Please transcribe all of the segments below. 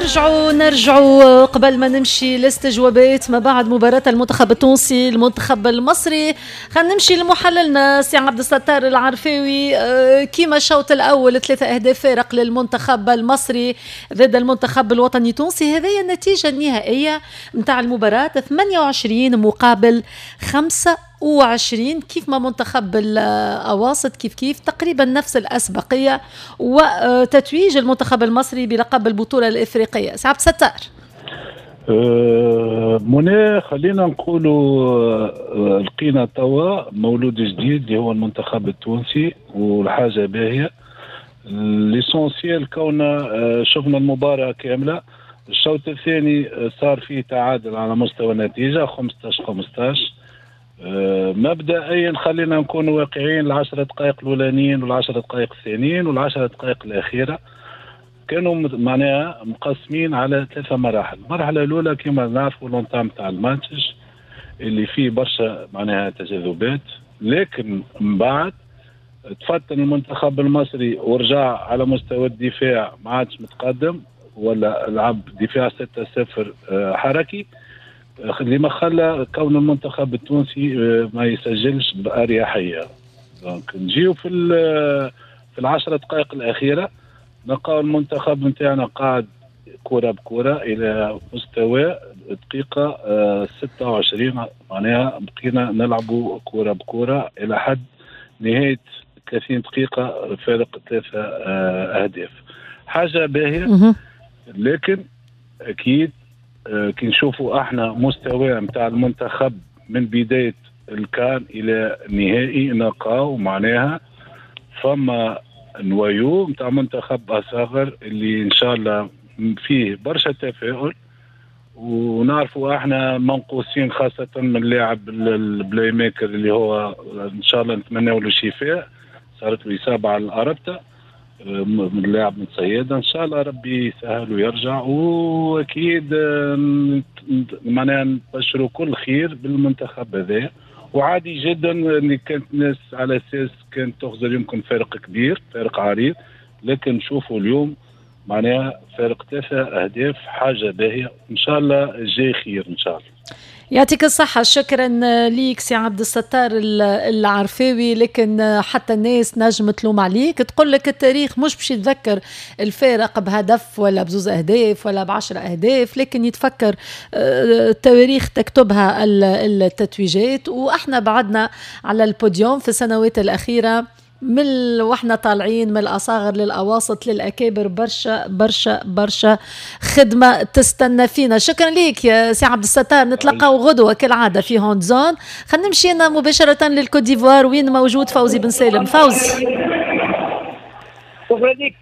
نرجعوا قبل ما نمشي لاستجوابات ما بعد مباراة المنتخب التونسي المنتخب المصري. خلينا نمشي لمحللنا سي عبد الستار العرفاوي. كيما الشوط الأول 3 أهداف فارق للمنتخب المصري ضد المنتخب الوطني التونسي، هذه النتيجة النهائية نتاع المباراة 28 مقابل 25. كيف ما منتخب الأواسط كيف كيف تقريبا نفس الأسبقية وتتويج المنتخب المصري بلقب البطولة الإفريقية. سي عبد الستار. منى، خلينا نقولوا لقينا توا مولود جديد اللي هو المنتخب التونسي، والحاجة باهية l'essentiel كوننا شفنا المباراة كاملة. الشوط الثاني صار فيه تعادل على مستوى النتيجة 15-15. مبدئيا خلينا نكون واقعيين، 10 دقائق الاولانيين والعشر دقائق الثانيين والعشر دقائق الاخيرة كانوا معناها مقسمين على 3 مراحل. المرحلة الاولى كما نعرفوا l'entame تاع الماتش اللي فيه برشا معناها تجاذبات، لكن من بعد تفتن المنتخب المصري ورجع على مستوى الدفاع ما عادش متقدم ولا لعب دفاع 6-0 حركي، اللي ما خلى كون المنتخب التونسي ما يسجلش بأريحية. donc نجيو في 10 دقائق الأخيرة نلقاو المنتخب نتاعنا قاعد كرة بكرة إلى مستوى دقيقة 26، معناها بقينا نلعبوا كرة بكرة إلى حد نهاية 30 دقيقة فارق 3 أهداف. حاجة باهية، لكن أكيد كي نشوفوا احنا مستوى نتاع المنتخب من بداية الكان الى النهائي نلقاو معناها فما noyau نتاع منتخب اصغر اللي ان شاء الله فيه برشا تفاؤل، ونعرفوا احنا منقوصين خاصة من لاعب ال playmaker اللي هو ان شاء الله نتمناو له الشفاء، صارت له اصابه على الاربطه من اللاعب من صيادة، ان شاء الله ربي يسهل ويرجع، واكيد معناها نبشروا كل خير بالمنتخب هذا. وعادي جدا ان كانت الناس على اساس كانت تخزر يمكن فارق كبير، فارق عريض، لكن نشوفوا اليوم معناها فارق 3 أهداف، حاجة باهيه، ان شاء الله جاي خير ان شاء الله. يعطيك الصحة، شكرا ليك سي عبد الستار العرفاوي. لكن حتى الناس نجم تلوم عليك، تقول لك التاريخ مش باش يتذكر الفارق بهدف ولا بزوز أهداف ولا ب10 أهداف، لكن يتفكر التواريخ تكتبها التتويجات. وإحنا بعدنا على البوديوم في السنوات الأخيرة من واحنا طالعين من الأصاغر للأواسط للأكابر، برشا برشا برشا خدمة تستنى فينا. شكرا ليك يا سي عبد الستار، نتلقاو غدوة كالعادة في Hand Zone. خلينا نمشي مباشرة للكوت ديفوار وين موجود فوزي بن سالم. فوزي، شكرا لك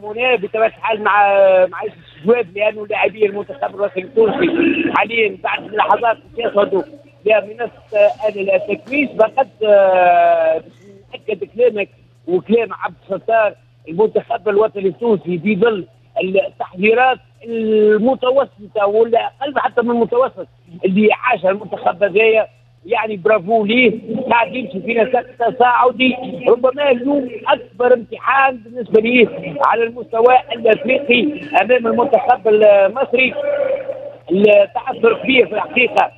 منى. بطبيعة الحال مع الاستجواب، لأنه لاعبي المنتخب الوطني التونسي حاليا بعد لحظات يصعدوا لمنصة التتويج. فقد أكد كلامك وكلام عبد الستار، المنتخب الوطني التونسي في ظل التحضيرات المتوسطة ولا أقل حتى من المتوسط اللي عاشها المنتخب هذايا، يعني برافو ليه، قاعد يمشي في نسق تصاعدي. ربما اليوم أكبر امتحان بالنسبة ليه على المستوى الأفريقي أمام المنتخب المصري. التعثر كبير في الحقيقة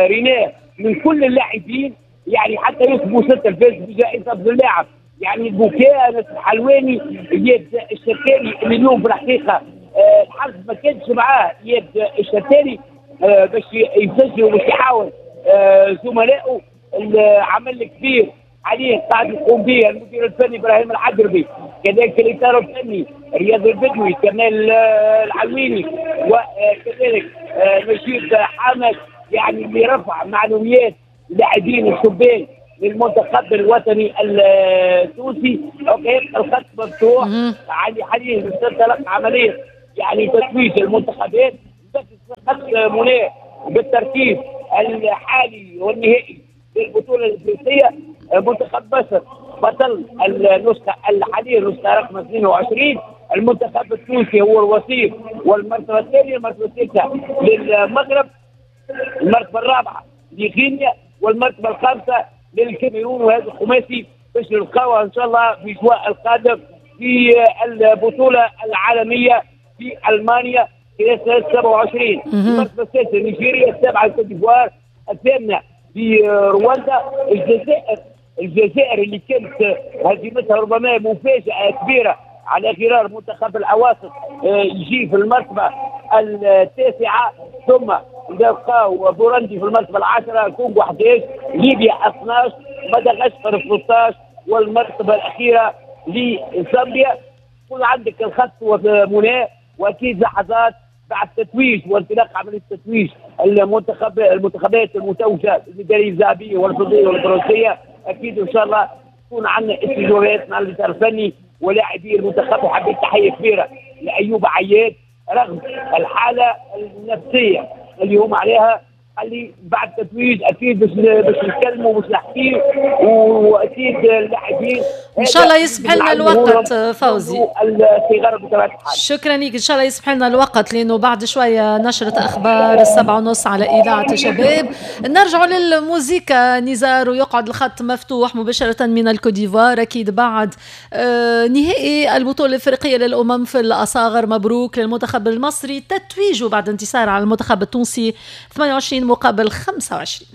ريناه من كل اللاعبين، يعني حتى يوسف بوستة الفاز بجائزة أفضل لاعب، يعني البكاء أنس الحلواني، إياد الشتاري اللي اليوم في الحقيقة الحظ ما كانش معاه إياد الشتاري باش يسجل وباش يحاول زملائه. العمل الكبير عليه قاعد يقوم به المدير الفني إبراهيم العقربي، كذلك الإطار الفني رياض البدوي، كمال العلويني، وكذلك نجيب حامد، يعني اللي رفع معنويات اللاعبين الشبان للمنتخب الوطني التونسي. okay الخط مفتوح حاليا تنطلق عملية يعني تتويج المنتخبات. خط منى بالترتيب الحالي والنهائي للبطولة الافريقية، منتخب مصر بطل النسخة الحالية النسخة رقم 22، المنتخب التونسي هو الوصيف والمرتبة الثانية، المرتبة الثالثة للمغرب، المرتبة الرابعة لغينيا، والمرتبة الخامسة للكاميرون. وهذا الخماسي باش نلقاوها ان شاء الله في جواء القادم في البطولة العالمية. في المانيا خلال سنة 27. المرتبة السادسة نيجيريا، السابعة الكوت ديفوار، الثامنة في رواندا. الجزائر اللي كانت هزيمتها ربما مفاجاة كبيرة على غرار منتخب الاواسط يجي في المرتبة التاسعة، ثم نلقاو بورندي في المرتبة العاشرة، الكونغو 11، ليبيا 12، مدغشقر 13، والمرتبة الاخيرة لزامبيا. كل عندك الخط منى، واكيد لحظات بعد تتويج وانطلاق عملية التتويج المنتخبات المتوجه الميداليه الذهبية والفضيه والبرونزيه، اكيد ان شاء الله تكون عندنا استجوابات مع الاطار الفني ولاعبي المنتخب. وحبيت تحية كبيرة لايوب عياد رغم الحالة النفسية اللي هم عليها، اللي بعد التتويج اكيد باش نتكلموا باش نحكيو، واكيد اللاعبين ان شاء الله يسمح لنا الوقت فوزي. شكرا لك، ان شاء الله يسمح لنا الوقت لانه بعد شوية نشره اخبار 7:30 على اذاعة شباب. نرجع للموزيكا نزار، ويقعد الخط مفتوح مباشرة من الكوديفوار اكيد بعد نهائي البطولة الافريقية للامم في الاصاغر. مبروك للمنتخب المصري تتويجه بعد انتصار على المنتخب التونسي 28 مقابل 25.